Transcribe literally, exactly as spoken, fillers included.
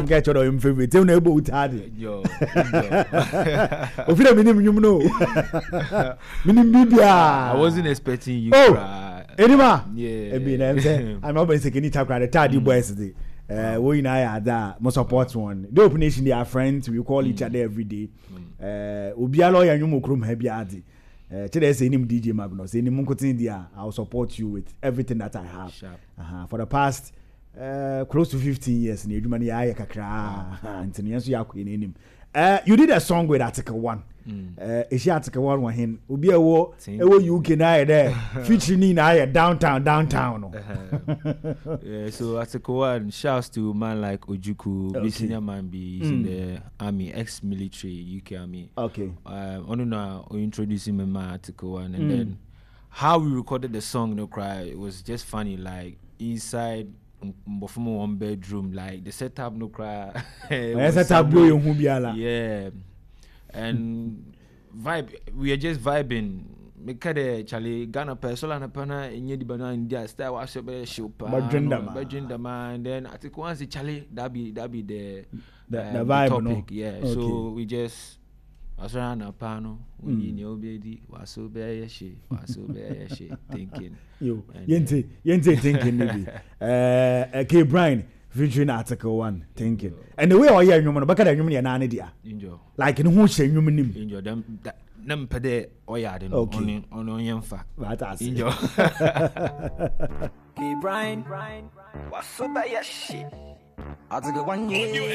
Sɛ mka kyerɛ dɛ ɔyɛ me favourite, ɛmu na ɛbɔ wo taa de. Yo, ofi dɛ menim nnwom no, menim biribiaa. I wasn't expecting you. Oh, Cry. Enima. Yeah. Ebi na ɛm sɛ ama ɔbɛn sɛ keni takora de Taadi Boys de ɛɛ wɔn nyinaa yɛ ada a mo support wɔn. Dope Nation, they are friends, we call each other every day. Ɛɛ obiara ɔyɛ nnwom wɔ kurom ha bi ade ɛɛ kyerɛ sɛ enim D J Magnus enim nkotin di a, I will support you with everything that I have. Sharp. uh-huh. for the past uh, close to fifteen years na edwuma no yɛ ayɛ kakraa, nti no yɛn nso yɛ akɔ yɛn anim. Uh, you did a song with Article One. Uh, ehyia Article One wɔ hen? Obi a ɛwɔ ɛwɔ U K na ayɛ dɛ feature ni na ayɛ downtown downtown no. Yeah, so Article One, shouts to man like Ojuku, Okay. okay. Senior man be, he's in the army, ex-military, U K Army. Okay. Um, I don't know, introducing me my Article One, and then how we recorded the song, "No Cry," it was just funny, like inside Mbofumo one bedroom, like the setup, no cry. It Ɛyɛ was sɛ tablo somewhere- yɛ hu biara. Yeah, and vibe, we are just vibing. Meka dɛ Charlie Ghana pɛ solar na pɛ na enye di ba na ndi a style wa so bɛ show pa. Bɛdwen dama. Bɛdwen dama, and then Article One say, "Charlie, that be that be the The- um, the vibe, no? topic." Yeah. Okay. So we just wasɔre anapa no, wonyi nea wobɛdi waso bɛyɛ hye, waso bɛyɛ hye, thinking. Yo, And yɛnte yɛnte "Thinking" no bi. ɛɛ K Brian featuring Article One, "Thinking," and the way ɔyɛ nnwom no, bɛka dɛ nnwom no yɛ naa ne dea. Enjoy. Like ne ho hyɛ nnwom nim. Enjoy dem that na mpɛ dɛ ɔyɛ ade no. Okay. ɔno ɔno ɔnyɛ mfa. Wate ase. Enjoy. K Brian, what's up, yeah, shit. Article One, yeah.